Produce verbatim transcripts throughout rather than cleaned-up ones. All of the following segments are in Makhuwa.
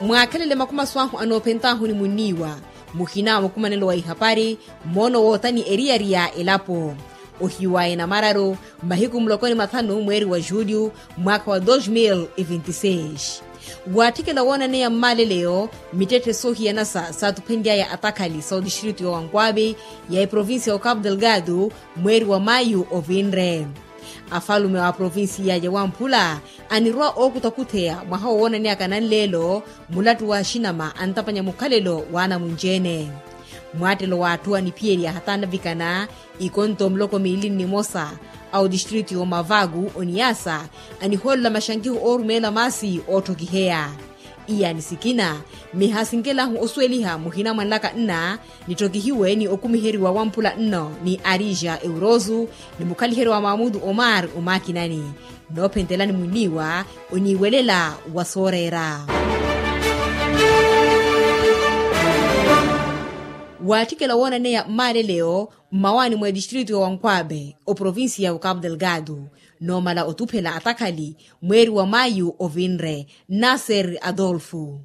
Mwaakhelele makumasu ahu anoophent'ahu ni munniiwa, muhina wa mukumanelo wa ihapari, moono wootani eriyari ya elapo. Ohiwaya namararu, mahiku muloko ni mathanu mweeri wa julyu, mwaakha wa dos mil e vinti seis. Waatthikela woonaneya mmaaleleyo, mittetthe soohiyanasa saatuphenly'aya atakhali sa otistritu ya wankwavi, ya eprovincia ya okapu delgado, mweeri wa mayu ovinre. Afalume wa aprovincia ya wamphula anirwa ookutakutheya mwaha wowoonaneyaka nanleelo, mulattu wa axinama antapanya mukhalelo w'anamunci-ene. Mwaattelo w'atthu aniphiyerya hataanavikana, ikonto muloko miili nnimosa, a otistritu ya omavaku oniasa, anihoolela maxankiho oorumeela maasi ootthokiheya. Iyaani sikina, miha sinkelahu osuweliha muhina mwanlaka nna, nitthokihiwe ni okumiheriwa wamphula nno ni arija eurosu, ni mukhaliheriwa mamutu omar omakinani. Noophentelani munniiwa, oniiwelela wa sooreera. Waatthikela woonaneya mmaaleleyo, mmawaani mwa etistritu ya wankwaabe oprovincia ya okapu delgado, noomala otuphela atakhali, mweeri wa mayu ovinre, nasser adolfo.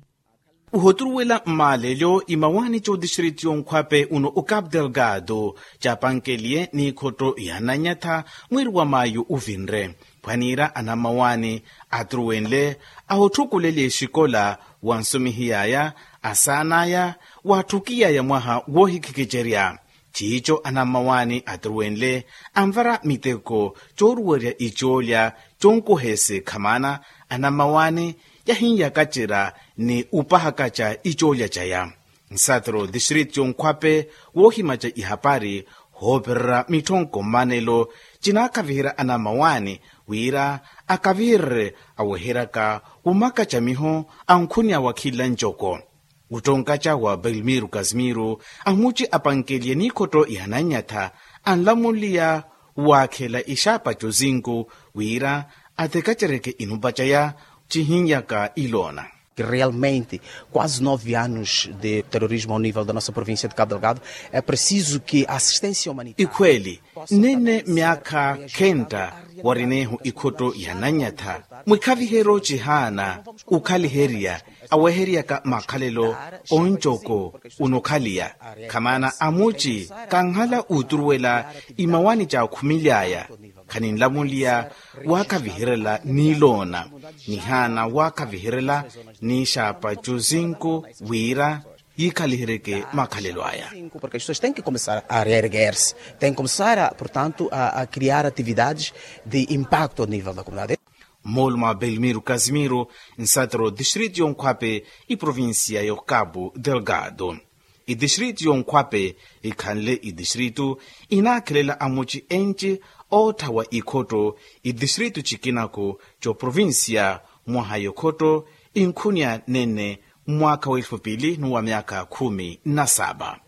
Ohoturuwela mmaalelyo imawaani c'otistritu y'onkhwape uno okapu delgado, caapankeliye n'ikhotto ya nanyatha, mweeri wa mayu ovinre. Phwaniira anammawaani aturuwenle, ahotthukulelye exikola wa nsumihiy'aya, asaan'aya, waatthukiy'aya mwaha woohikhikicerya. Ciico anammawaani aturuwenle, anvara miteko, cooruwerya icoolya, conkuhese khamaana, anammawaani, yahin'yakacerya ni opahakaca icoolya caya. Nsatero district y'onkhwape, woohimaca ihapari, hoopererya mitthonko mmanelo, cinaakaviherya anammawaani, wira akavihererye, aweheryaka omakaca miho, ankhuniya wa khila ncoko. Ottonkaca wa belmiro casimiro, amuci apankeliye n'ikhotto ya nanyatha, anlamunliya waakhela ixaapa cozinku, wira atekacereke inumpa caya, cihin'yaka iloona. Realmente, quase nove anos de terrorismo ao nível da nossa província de cabo delgado, é preciso que a assistência humanitária. Ikhweeli, nnene myaakha khenta, warineehu ikhotto ya nanyatha, mwikhaviheryo cihaana, okhaliherya, aweheryaka makhalelo, oncoko, onokhaliya. Khamaana amuci, kanhala oturuwela, imawaani caakhumil'aya, khaninlamunliya, waakhaviherela n'iloona, nihaana waakhaviherela, n'ixaapa cozinku, wira yiikhaliheryeke makhalelo aya. Porque as pessoas têm que começar a reerguer-se, têm que começar a, portanto, a, a criar atividades de impacto ao nível da comunidade. Moolumo a belmiro casimiro, nsatero district y'onkhwape, iprovincia y'okapu delgado. Idistritu y'onkhwape, ikhanle idistritu, inaakhelela amuci enci, ootthawa ikhotto, idistritu cikinaku, c'oprovincia, mwaha y'okhotto, inkhuniya nene, mwaakha w'elfu pili n'uwa myaakha khumi na saba.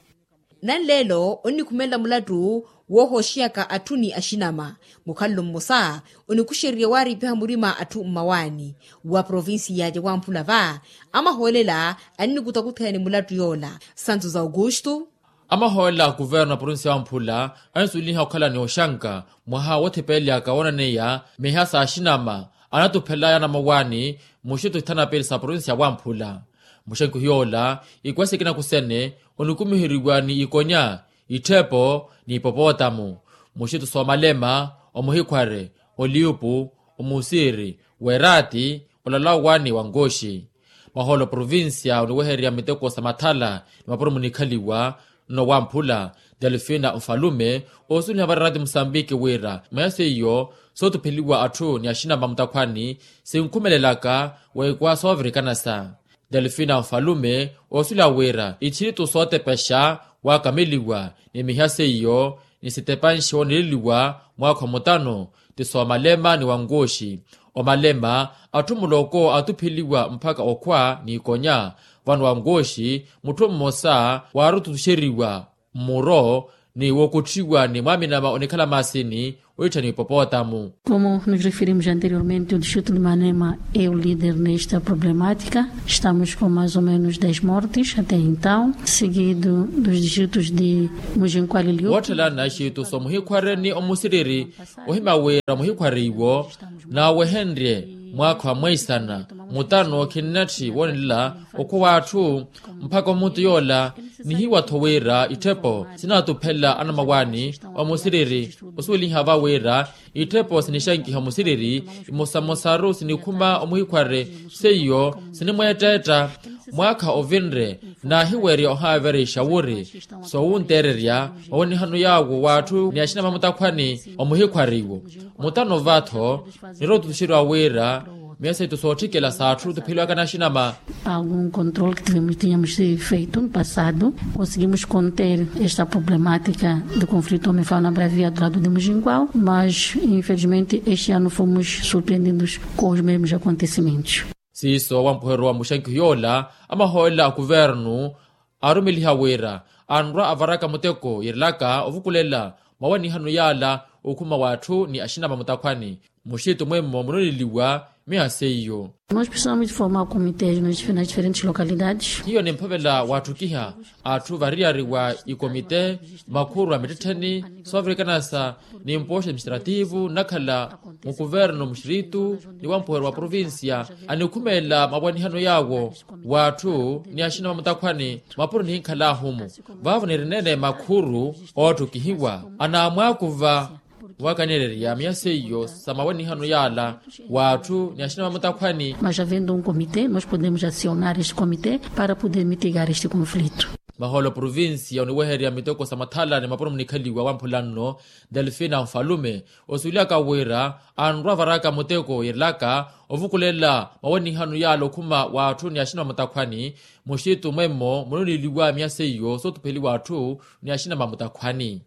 Nanleelo onnikhumelela mulattu, woohooxiyaka atthu ni axinama, mukhalelo mmosa, onikuxererye waariipiha murima atthu mmawaani, wa provincia ya wamphula va, amahoolela, annikutakutheyani mulattu yoola. Santos augusto. Amahoolela a kuverno a provincia ya wamphula, anisuweliha okhala ni oxanka, mwaha woothipelelyaka woonaneya, miha s'axinama, anatuphelaya anammawaani, muxitto ithana pili sa provincia ya wamphula. Muxenkiho yoola, ikuwa sikina kusene, onikumiheriwa ni ikonya, itthepo, ni ipopotamu. Muxitto s'omalema, omuhikhware, oliupu, omusiri, weraati, olalawa ni wankooxi. Mahoolo provincia oniwehererya miteko sa mathala, ni mapuro munikhaliwa, nno wamphula, delfina mfalume, oosuweliha varaati musambiki wira miha seiyo, sootupheliwa atthu ni axinama mutakhwani, sinkhumelelaka, w'ikuwa soovirikanasa. Delfina mfalume, oosuweliha wira ichiritu sootepexa, waakameliwa, ni miha seiyo, ni sitepanxe wooneleliwa, mwaakha omutano, ti soomalema ni wankooxi. Omalema, atthu muloko atupheliwa mpakha okhwa ni ikonya, vano wankooxi, mutthu mmosa, waarututuxeriwa, mmuro, ni wookotthiwa ni mwaaminama onikhala maasini, oittha ni ipopotamu. Como nos referimos anteriormente, o distrito de Malema é o líder nesta problemática. Estamos com mais ou menos dez mortes até então, seguido dos distritos de Mujinkwalilio. Wootthela naxitu so muhikhware ni omusiriri, ohima wira muhikhware iwo, naawehenrye, mwaakha wa mweisana, Mutano khinnatthi woonela okhuwa atthu mpakha omuntu yoola. Nihiwa-tho wira itthepo sinaatuphela anamawaani omusiriri osuweliha va wira itthepo sinixankiha omusiriri imosamosaru sinikhuma omuhikhware. Seiyo sinimweettetta mwaakha ovinre naahiwerya ohaaverexa wuri soowunteererya mawenihano yaawo w'atthu ni axina mamutakhwani. Omuhikhwariwo mutano va-tho nirootutuxeriwa wira miya seitu sootthikhela s'atthu tupheliwaka naxinama. Algum controle que tivemos tínhamos feito no passado, conseguimos conter esta problemática do conflito homem fala na bravia do lado de mujingual, mas infelizmente este ano fomos surpreendidos com os mesmos acontecimentos. Siiso wampuheryo wa muxankiho yoola amahoolela a kuvernu aarumeliha wira anrwa avaraka muteko yirilaka ovukulela mawanihano yaala okhuma w'atthu ni axina mamutakhwani. Muxitu mwemmo munoneliwa miya seiyo. Nós precisamos de formar comitês nas diferentes localidades. Hiyo nimphavela watthukiha atthu variyari wa ikomite makhuru a mittettheni soovirikana sa nimpoxo administrativo nnakhala mukuvernu muxiritu ni wampuheryo wa provincia anikhumelela mawanihano yaawo w'atthu ni axina mamutakhwani mapuro nihinkhal'ahu-mu. Vaavo nirineene makhuru ootthukihiwa anaamwaakuva waakaneererya miya seiyo sa mawanihano yaala w'atthu ni axina mamutakhwani. Mas havendo um comité nós podemos acionar este comité para poder mitigar este conflito. Mahoolo provincia oniwehererya miteko sa mathala ni mapuro munikhaliwa wamphula nno delfina nfalume osuweliyaka wira anrwa avaraka muteko yirilaka ovukulela mawanihano yaala okhuma w'atthu ni axina mamutakhwani. Muxitu mwemmo munoneliwa miya seiyo sootupheliwa atthu ni axina mamutakhwani.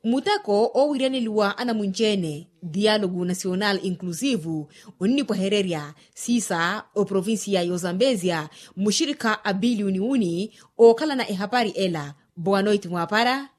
Muteko oowiryaneliwa anamunci-ene dialogo nacional inclusivo onnipwehererya siisa oprovincia y'ozambezia mmuxirikha a biliyoni wuni. Ookhalana ehapari ela boa noiti mwaapara.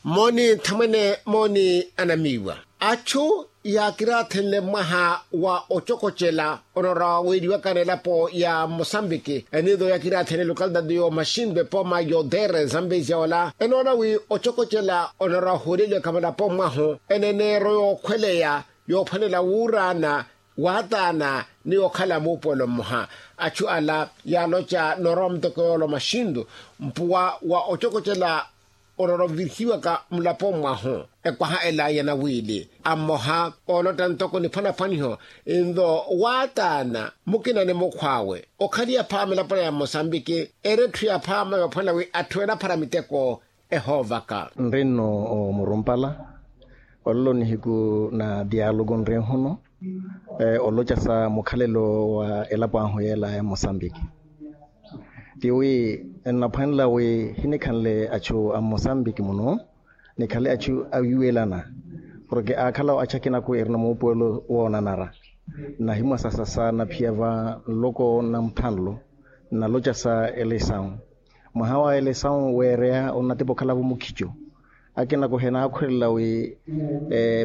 Mooni nthamwene mooni anamiiwa. Achu yaakiraathenle mwaha wa ocokocela onora weeriwakana elapo ya mosambiki enido yaakiraathenle lokalidade yo maxindu epooma yotere zambezia ola enoona wi ocokocela onora ohuuleliwaka mulapo mwahu eneneero yookhweleya yoophwanela wuuraana waataana ni okhala muupuwelo mmoha. Achu ala yaaloca noorowa muteko yoolo maxindu mpuwa wa ocokocela onorovihiwaka mulapo mwahu ekwaha ela ya nawiili a mmoha oolotta ntoko niphwanaphwaniho nto waataana mukina ni mukhw'awe okhaliya phaama elapona ya mosambiki eri etthu ya phaama yoophwanela wi atthu enaphara miteko ehoovaka. Nrinno omurumpala ololo nihiku na dialogo nrinhuno oloca sa mukhalelo wa elapo ahu yeela ya mosambiki tiwi nnaphwanela wi hinikhanle achu a mosambiki muno nikhale achu awiwelana porke aakhala achu akinaku erina muupuwelo woonanara nnahimwasasasa naphiya va nloko na muthanlo nnaloca sa elesawu mwaha wa elesawu weereya onnatepa okhalavu mukhico akinaku henaakhwelela wi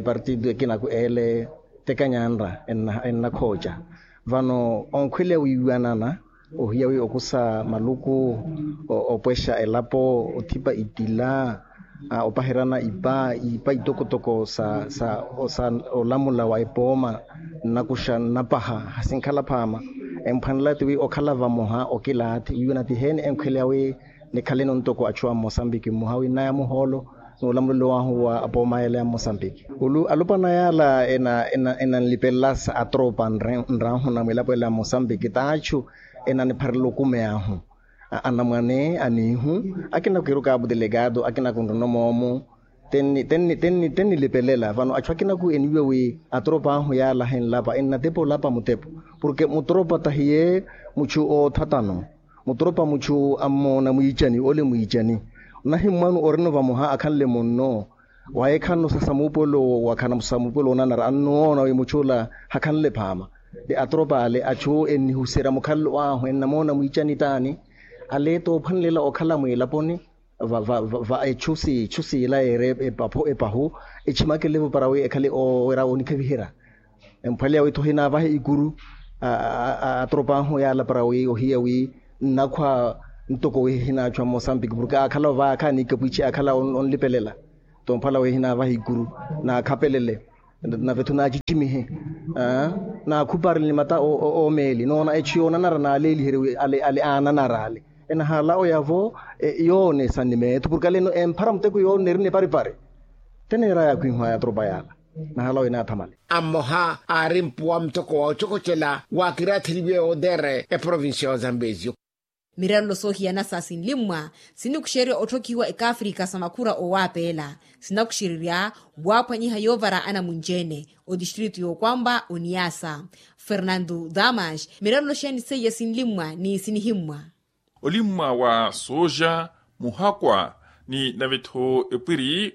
partido ekinaku eele tekanyanra ennakhooca vano onkhweleya wiiwanana ohiya wi okusa maluku opwexa elapo othipa itila opaherana ipa ipa itokotoko sa sa olamula wa epooma nnakuxa nnapaha hasinkhala phaama emphwanela tiwi okhala vamoha okilaathi wiiwana tiheeni enkhweleya wi nikhaleni ontoko achu a mosambiki mmoha wi nnaya muhoolo n'ulamulelo wahu wa apooma yela ya mosambiki ulu alupwana yala enanlipelela sa atropa nraahuna mwilapo ela ya mosambiki t'achu enanipharela okumeya ahu anamwane aniihu akinaku kiru kabu delegado akinaku nrono moomu tennilipelela vano achu akinaku eniwiwa wi atropa ahu yala henlapa ennatepa olapa mutepo porke mutropa tahiye muchu oothatano mutropa muchu ammoona mwiicani ole mwiicani onahimmwanu orino vamoha akhanle munno wayekhano sasa muupuwelo wakhana sa muupuwelo woonanara annoona wi muchu ola hakhanle phaama ti atropa ale achu ennihuserya mukhalelo ahu ennamoona mwiicani taani ale toophwanelela okhala mwiilaponi va echu siila yeere epahu echimakelevo para wi ekhale owerya onikhaviherya emphwaleya wi tho hinaavahe ikuru atropa ahu yaala para wi ohiya wi nnakhwa ntoko wi hinaachu a mosambiki porke aakhala ovaya akhaani ikapwichi aakhala onlipelela tomphwala wi hinaavahe ikuru naakhapelele Nave-tho naacicimihe, naakhuparele ni mata oomeeli noona echu yoonanara naaleeliherye wi ale aananara ale. Enahala oyavo yoonesani meetho purkale eno emphara muteko yooneri neparipari. Teneera yaakhwihwaya tropa yaala. Nahala oyo naathamale. Ammoha aari mpuwa muteko wa ocokocela waakiratheliwe otere eprovincia ya zambezio. Mirelelo soohiyana sa sinlimmwa sinikuxererya otthokhiwa ekaafrika sa makhura owapeela, sinakuxererya waaphwanyiha yoovara anamunci-ene otistritu yookwampa oniyasa. Fernando damas, mirelelo xeeni seiya sinlimmwa ni sinihimmwa? Olimmwa wa sooja, muhakwa, ni nave-tho epwiri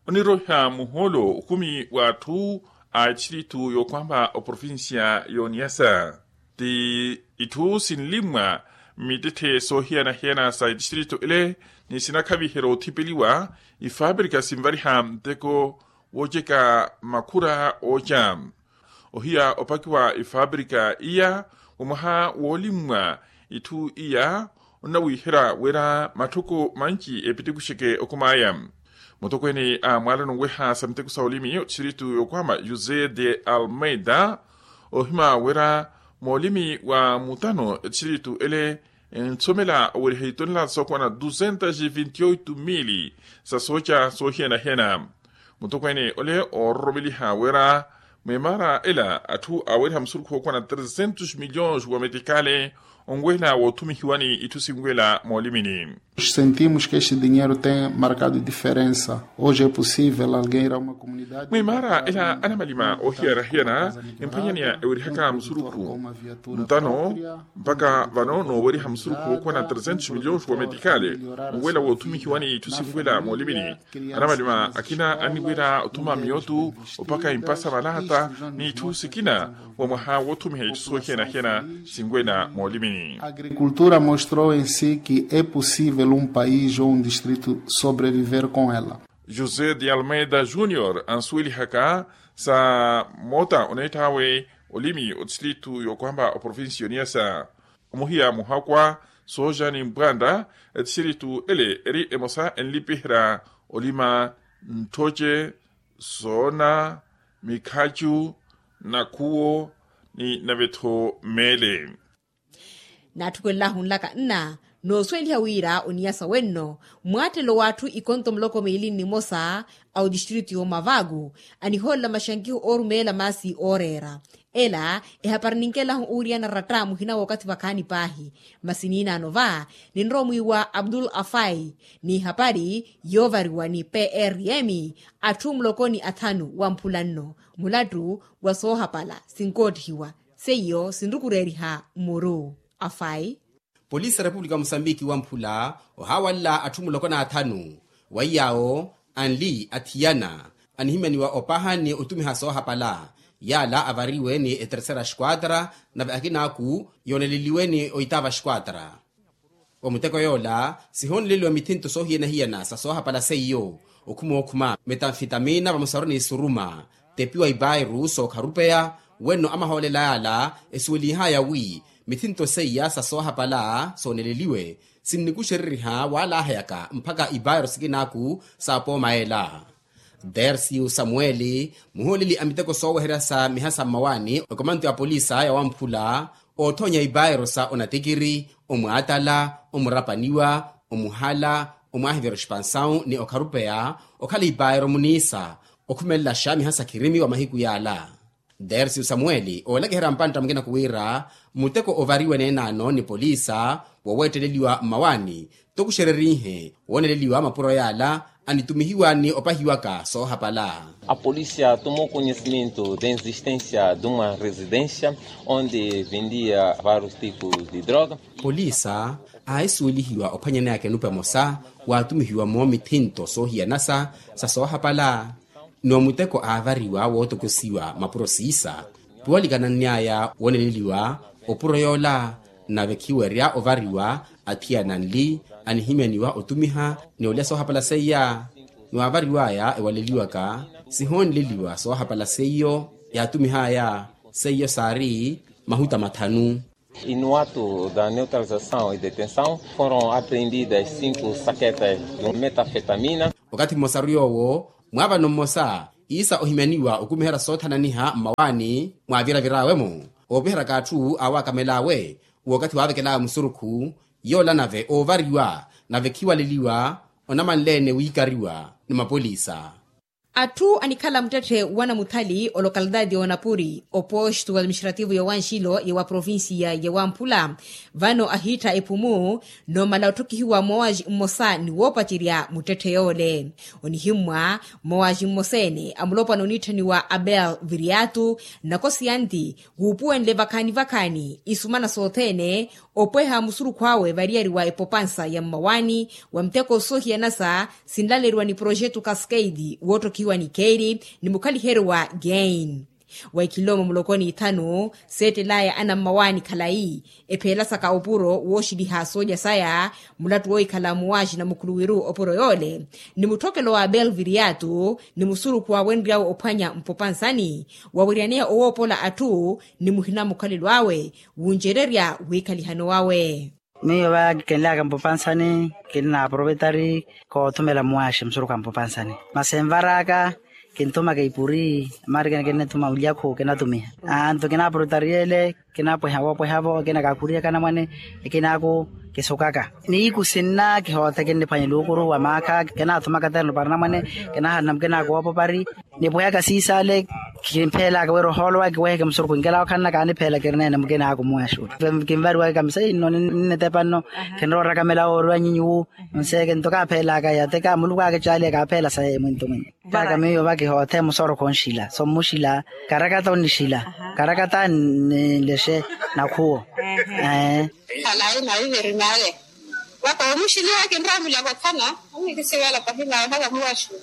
oniroiha muhoolo okhumi w'atthu a etistritu yookwampa oprovincia y'oniyasa. Ti itthu sinlimmwa mmittetthe soohiyana-hiyana sa etistritu ele, ni sinakhaviherya othipeliwa ifaaprika sinvariha nteko wooceka makhura ooca. Ohiya opakiwa ifaaprika iya wa mwaha woolimmwa itthu iya onnawiiherya wira matthoko manci epitikuxeke okhum'aya. Mutokweene a mwaalano nweha sa miteko sa olimi otistritu yookwama josé de almeida, ohima wira moolimi wa mutano etistritu ele ensomela oweriha itonela sookwana duzentas e vinte oito mili sa sooca soohiyana-hiyana. Mutokweene ole oororomeliha wira mwimaara ela atthu aweriha musurukhu wookwana trezentos milhões wa metikale onwela woothumihiwani itthu sinwela moolimini. Sentimos que este dinheiro tem marcado diferença. Hoje é possível alguém ir a uma comunidade mwimaara ela anamalima oohiyana-hiyana emphwanyaneya ewerihaka musurukhu ntano mpaka vano nooweriha musurukhu wookwana trezentos milhões wa metikale onwela woothumihiwani itthu sinwela moolimini. Anamalima akina anniwira othuma miyotu opaka impasa malata n'itthu sikina wa mwaha woothumiha itthu soohiyana-hiyana sinwela moolimini. Agricultura mostrou em si que é possível um país ou um distrito sobreviver com ela. José de almeida junior ansuwelihaka sa moota oneett'awe olimi otistritu yookwampa oprovincia y'oniyasa. Omuhiya muhakwa, sooja ni mpwanda, etistritu ele eri emosa enlipiherya olima ntthoce, soona, mikhacu, nakhuwo, ni nave-tho meele. Naatthukwelelaahu nlaka nna noosuweliha wira oniyasa wenno mwaattelo w'atthu ikonto muloko miili nnimosa a otistritu y'omavaku anihoolela maxankiho oorumeela maasi ooreera. Ela ehapari ninkelahu owiriyana ratta muhina wookathi vakhaani paahi. Masi niinaano va ninrowa omwiiwa abdul afai n'ihapari yoovariwa ni prm atthu muloko ni athanu wamphula nno mulattu wa soohapala sinkoottihiwa. Seiyo sinrukureeriha muru afai. Polisi ya repupulika wa musambiki wamphula ohawalela atthu muloko n'athanu, wa iyaawo anli athiyana anihimyaniwa opaha ni otumiha soohapala. Yaala avariwe ni etersera esquadra nave akinaaku yooneleliwe ni oitaava esquadra. Omuteko yoola sihooneleliwa mithinto soohiyana-hiyana sa soohapala seiyo okhuma okhuma metanfitamina vamosaru ni suruma, tepiwa ipairu sookharupeya. Wenno amahoolela yaala esuwelihaya wi mithinto seiya sa soohapala sooneleliwe sinnikuxereriha waalahayaka mpakha ipairu sikinaaku saapooma ela. Dersiu samueli muhooleli a miteko sooweherya sa miha sa mmawaani okomanto ya polisa ya wamphula, oothoonya ipaero sa onatikiri, omwaatala, omurapaniwa, omuhala, omwaahiverya oxipansawu ni okharupeya okhala ipaero muniisa okhumelaxa miha sa khirimi wa mahiku yaala. Dersiu samueli oolakiherya mpantta mukina kuwiira muteko ovariwe neenaano ni poliisa woweetteleliwa mmawaani tokuxererihe wooneleliwa mapuro yaala anitumihiwa ni opahiwaka soohapala. A polícia tomou conhecimento da existência de uma residência onde vendia vários tipos de droga. Poliisa aahisuwelihiwa ophwanyaneyaka enupa emosa waatumihiwa-mo mithinto soohiyanasa sa soohapala. Ni omuteko aavariwa wootokosiwa mapuro siisa piwalikananny'aya wooneleliwa opuro yoola. Nave khiwerya ovariwa athiyana anli anihimyaniwa otumiha ni olya soohapala seiya. Ni waavariw'aya ewaleliwaka sihooneleliwa soohapala seiyo yaatumih'aya seiyo saari mahuta mathanu. Inuwato da neutralização e detenção foram apreendidas cinco saquetas de metanfetamina. Okathi mmosaru yoowo mwaavano mmosa Iisa ohimyaniwa okumiherya soothananiha mmawaani mwaaviravir'awe-mo, oopiheraka atthu aawakamel'awe w'okathi waavekel'awe musurukhu, yoola nave oovariwa nave khiwaleliwa onamanle-ene wiikariwa ni mapolisa. Atthu anikhala muttetthe wa namuthali olokalitaati y'onapuri oposto wa atiministrativu y'owanxilo y'ewa provincia y'ewamphula, vano ahiittha ephumu noomala otthokihiwa mmowaji mmosa ni woopacerya muttetthe yoole. Onihimmwa mmowaji mmosa-ene amulopwana oniitthaniwa abel viriatu, nakosi yanti wuupuwenle vakhaani vakhaani isumana sothene, opweha musurukhu awe variyari wa epopansa ya mmawaani wa muteko soohiyanasa sinlaleriwa ni projetu cascade wootthokihiwa ni keeri ni mukhaliheryo wa gain. Wa ikhilomo muloko n'ithanu seettel'aya anammawaani khalayi, epheelasaka opuro wooxiliha soolya saya mulattu woohikhala muwaaxina mukhuluwiru opuro yoole, ni mutthokelo wa abel viriatu ni musurukhu waawenry'awe ophwanya mpopansani, waweryaneya owoopola atthu ni muhina mukhalelo awe wuncererya wiikhalihano wawe. Miyo va kenlaka mpopansani, kinna aprovetari koothumela muwaaxi musurukhu a mpopansani. Masi envaraka kinthumaka ipuri, marikene kinnithuma ulyakhu kinatumiha. Anto kinaprovetari ele kinapweha woopweha-vo kinakakhuriyaka anamwane. Ekinaaku kisukaka niiku sinna kihoothe kinniphwanya luukuru wa maakha kinathumaka terno para anamwane. Kinahalana mukinaaku woopopari nipwehaka siisale. Kimpheelaka wira ohoolo waya kiweheke musurukhu nkela okhanna kaanipheela kirineene mukinaaku muwaxuula. Kinvariwaka kamisa inno ninnetepa nno. Kinrooraka melawo oriwa nyinyi wu nseeke nto kaapheelaka yateka muluku akicaaliya kaapheela saye mwinto mwinto. Taka miyo va kihoothe musorokho onxila sommuxila karakata onixila karakata ninlexe nakhuwo. Ee. Khalayi nawiverimale vaka omuxiliwa kinrowa mulyakothana. Amikisivela pahina haka muwaxu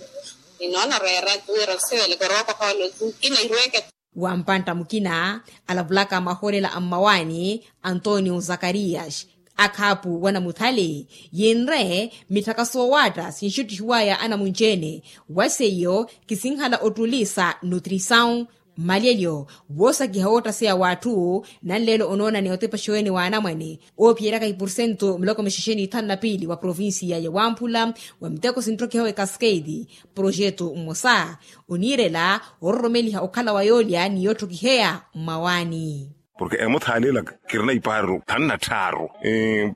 ninoona reera tuwira osiveleke orookoha olotu kina irweke. Wa mpantta mukina alavulaka mahoolela a mmawaani antonio zakarias akhaapu wa namuthale yinre mitthaka soowaatta sinxuttihiwaya anamunci-ene. Wa seiyo kisinhala ottulisa nutrisawu mmalyelyo woosakiha woottaseya w'atthu nanleelo onoonani otepexa-ene w'anamwane oophiyeryaka ipursentu miloko mixexe n'ithanu na piili wa provincia ya wamphula wa miteko sinttokihawe cascade. Projetu mmosa oniirela ororomeliha okhala wa yoolya ni yoottokiheya mmawaani. Porke emuthaani ela kirina ipaariro thanu na tthaaru.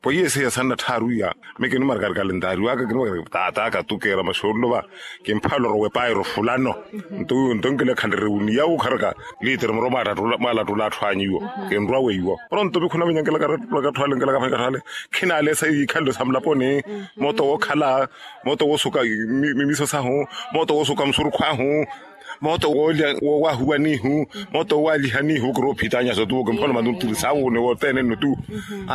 Poiyeseya thanu na tthaaru iya mikinimarkari kalendaari waka kinimarkari taataka tu keera maxoololo va. Kimphaloro wepaayiro fulano nto wiwo nto nkilekhanrere wuniya wukharaka liitiri muro mwaalattula atthu anyu iwo. Kinrwa weiwo pronto vikhuna vinyankelaka atthu ale nkelaka phani katthu ale. Khinaalesa ikhalelo sa mulaponi mooto wookhala mooto woosuka mimiso sahu mooto woosuka musurukhu ahu mooto woolya woowahuwanihu mooto woowalihanihu kiroophitanya sotuwo kimphona mantu nturi saawuune wothene nno tu.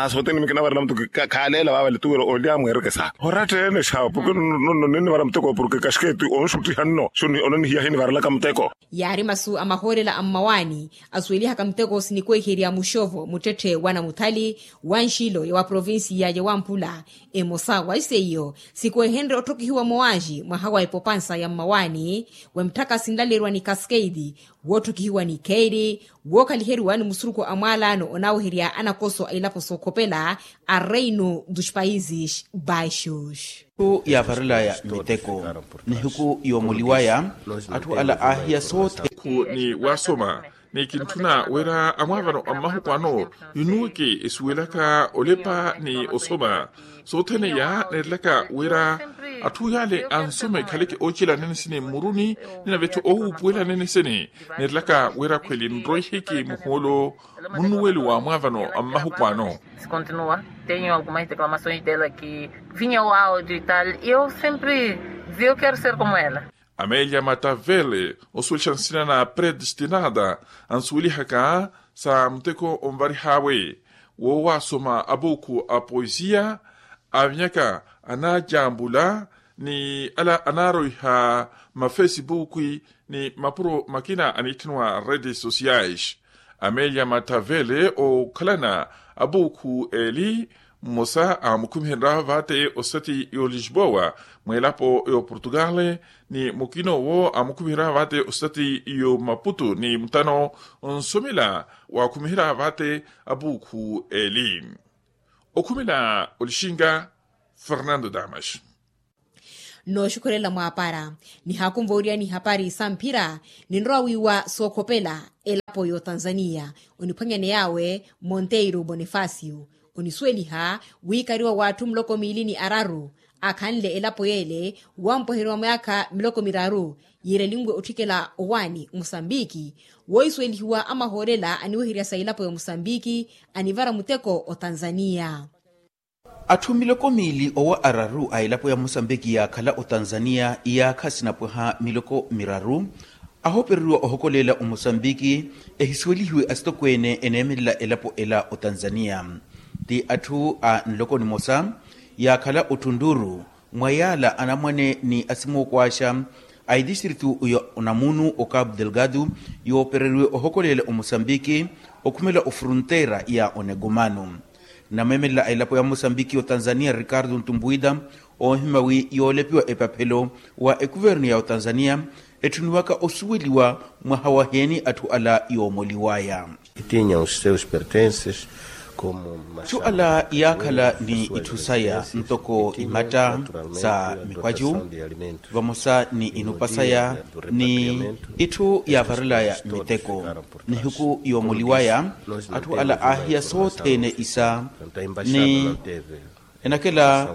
Sothene mikinavarela mtu khaaleela vaavale tuwira olya mweereke sa oratta ene xaapu nonno ninnivara muteko porke kaxiketi onxuttiha nno xo ononihiya hinivarelaka muteko. Yaari masu a mahoolela a mmawaani asuwelihaka muteko sinikweherya muxovo muttetthe wa namuthali wa nxilo ya wa provincia ya wamphula. Emosa wa iseiyo sikwehenrye otthokihiwa mowaaxi mwaha wa epopansa ya mmawaani wa mitthaka sinlaleriwa ni cascade wootthokihiwa ni kheiri wookhaliheriwa ni musurukhu a mwaalaano onaaweherya anakoso a ilapo sookhopela a reino dos países baixos. Atthu yaavarelaya miteko nihiku yoomoliwaya atthu ala aahiya sothene. Khu ni waasoma ni kintthuna wira amwaavano a mmahuku ano yunuweke esuwelaka olepa ni osoma sothene iya neerelaka wira atthu yaale ansoma ekhaleke oocelanene sini mmuruni ni nave-tho owuupuwelanene sini neerelaka wira khweli nroihiki muhoolo munnuwelo wa mwaavano a mmahuku ano. Continua tenho algumas declamações dela que vinha o áudio e tal e eu sempre dizia eu quero ser como ela. Amelia matavele osuwelixa nsina na predestinada ansuwelihaka sa muteko onvarih'awe woowaasoma abuukhu a poesia avinyaka anaajambula ni ala anaaroiha mafesibuuku ni mapuro makina aniitthaniwa redes sociais. Amelia matavele ookhalana abuukhu eli mmosa aamukhumiherya vate osati y'olisboa mw'elapo y'oportugal ni mukina owo aamukhumiherya vate osati y'omaputu ni mutano onsomela waakhumiherya vate abuukhu eli. Okhumela olixinga fernando damas. Nooxukhurela mwaapara nihaakunva oriyani ihapari sa mphira. Ninrowa wiiwa sookhopela elapo y'otanzaniya oniphwanyaney'awe monteiro bonifacio onisuweliha wiikariwa w'atthu muloko miili ni araru akhanle elapo y'ele wampweheriwa myaakha miloko miraru yiirelinwe otthikela owaani musambiki. Woohisuwelihiwa amahoolela aniweherya sa elapo ya musambiki anivara muteko otanzaniya. Atthu miloko miili owa araru a elapo ya musambiki yaakhala otanzaniya iyaakha sinapwaha miloko miraru ahoopereriwa ohokoleela omosambiki ehisuwelihiwe asitokweene eneemelela elapo ela otanzaniya. Ti atthu a nloko nimosa yaakhala ottunduru mwa yaala anamwane ni asimookwaaxa a itistritu ya onamunu o cabo delgado yoopereriwe ohokoleela omosambiki okhumela ofronteira ya onegomano. Nameemelela a elapo ya mosambiki otanzaniya ricardo ntumbuida oohima wi yoolepiwa epaphelo wa ekuvernu ya otanzaniya etthuniwaka osuweliwa mwaha waheeni atthu ala yoomoliwaya. Tinha os seus pertences como atthu ala yaakhala ni itthu saya ntoko imatta sa mikwacu vamosa ni inupa saya ni itthu yaavarelaya miteko nihiku yoomoliwaya atthu ala aahiya sothene isa ni enakela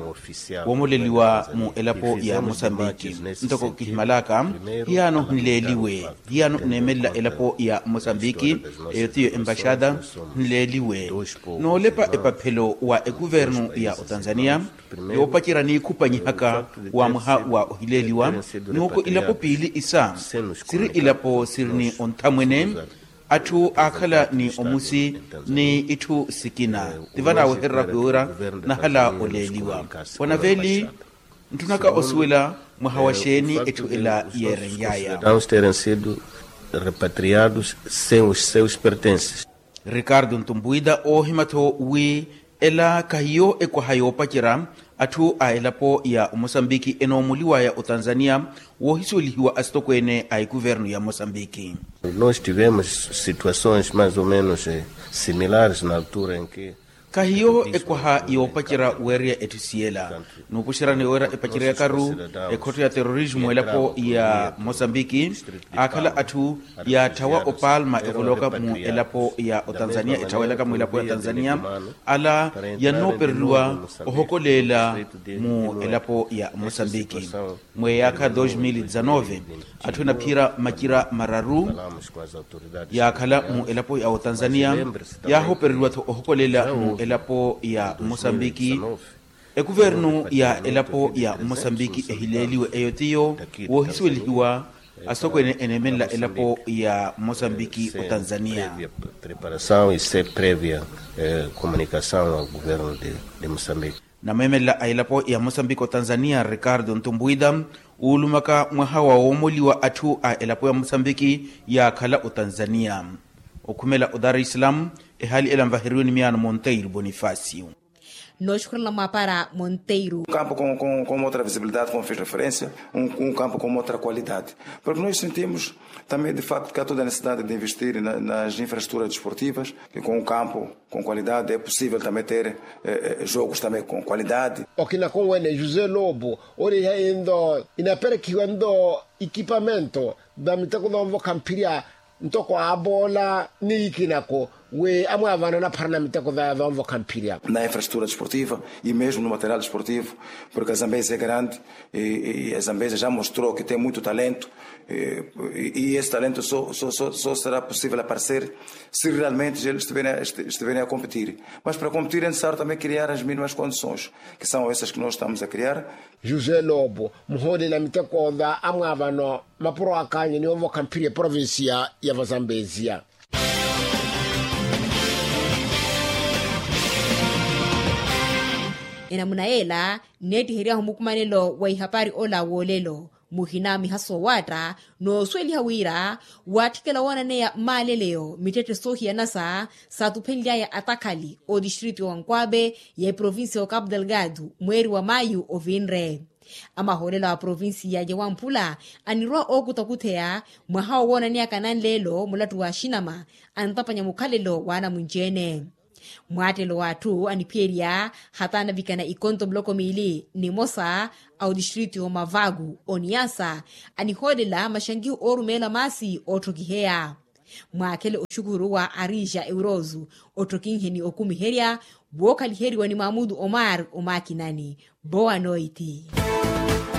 woomoleliwa mu elapo ya mosambiki. Ntoko kihimalaka hiyaano nleeliwe hiyaano neemelela elapo ya mosambiki eyo tiyo embaxada nleeliwe noolepa epaphelo wa ekuvernu ya otanzaniya yoopacerya niikhupanyihaka wa mwaha wa ohileeliwa. Nuuko ilapo piili isa siri ilapo siri ni onthamwene atthu aakhala ni omusi ni itthu sikina ti vanaawehererya wira nahala oleeliwa wanaveeli ntthunaka osuwela mwaha wa xeeni etthu ela yeerenly'aya. Terem sido repatriados sem os seus pertences. Ricardo ntumbuida oohima-tho wi ela kahiyo ekwaha yoopacerya atthu a elapo ya omosambiki enoomuliwaya otanzaniya woohisuwelihiwa asitokweene a ekuvernu ya mosambiki. Nós tivemos situações mais ou menos similares na altura em que kahiyo ekwaha yoopacerya weerya etthu siyela nuupuxerani weerya epaceryakaru ekhotto ya terrorismo elapo ya mosambiki aakhala atthu yaatthawa opalma evoloka mu elapo ya otanzaniya etthawelaka mu elapo ya tanzaniya ala yannoopereriwa ohokoleela mu elapo ya mosambiki. Mweyaakha dos mil dezanove atthu enaphiyerya macira mararu yaakhala mu elapo ya otanzaniya yaahoopereriwa-tho ohokoleela mu elapo ya mosambiki. Ekuvernu ya elapo ya mosambiki ehileeliwe eyo tiyo woohisuwelihiwa asitokweene eneemelela elapo ya mosambiki otanzaniya. Preparação e ser prévia comunicação ao governo de mosambiki. Nameemelela a elapo ya mosambiki otanzaniya ricardo ntumbuida uulumaka mwaha wa woomoliwa atthu a elapo ya mosambiki yaakhala otanzaniya okhumela o dar es salaam. Ehaali ela nvaheriwe ni miyaano monteiro bonifacio. Nooxukhurela mwaapara monteiro. Campo com outra visibilidade como fiz referência, um campo com outra qualidade, porque nós sentimos também de facto que há toda a necessidade de investir nas infraestruturas desportivas, que com um campo com qualidade é possível também ter jogos também com qualidade. Okina konwene josé lobo oreiha endo inaperekihiwa endo ikipamento da miteko da onvokha mphirya ntoko aaboola ni ikinako wi amwaavana anapharana miteko da onvokha mphirya. Na infraestrutura desportiva e mesmo no material desportivo, porque a zambezi é grande e a zambezi já mostrou que tem muito talento. E esse talento só será possível aparecer se realmente eles estiverem a competir. Mas para competir é necessário também criar as mínimas condições, que são essas que nós estamos a criar. José lobo muhoolela miteko da amwaavano mapuro akaanyu ni onvokha mphirya eprovincia ya vazambezia. Enamuna yeela nneettihery'ahu mukumanelo wa ihapari ola w'olelo muhina miha soowaatta noosuweliha wira waatthikela woonaneya maaleleyo mittetthe soohiyanasa saatuphenly'aya atakhali otistritu ya onkwabe ya eprovincia ya ocapo delgado mweeri wa maayu ovinre. Amahoolela wa provincia ya wamphula anirwa ookutakutheya mwaha owoonaneyaka nanleelo mulattu wa axinama antapanya mukhalelo w'anamunci-ene. Mwaattelo w'atthu aniphiyerya hata anavikana ikonto muloko miili nimosa a otistritu y'omavaku oniyasa anihoolela maxankiho oorumeela maasi ootthokiheya. Mwaakhele oxukuruwa ariixa eurosu otthokinhe ni okumiherya wookhaliheriwa ni maamutu omar omakinani. Boa noiti.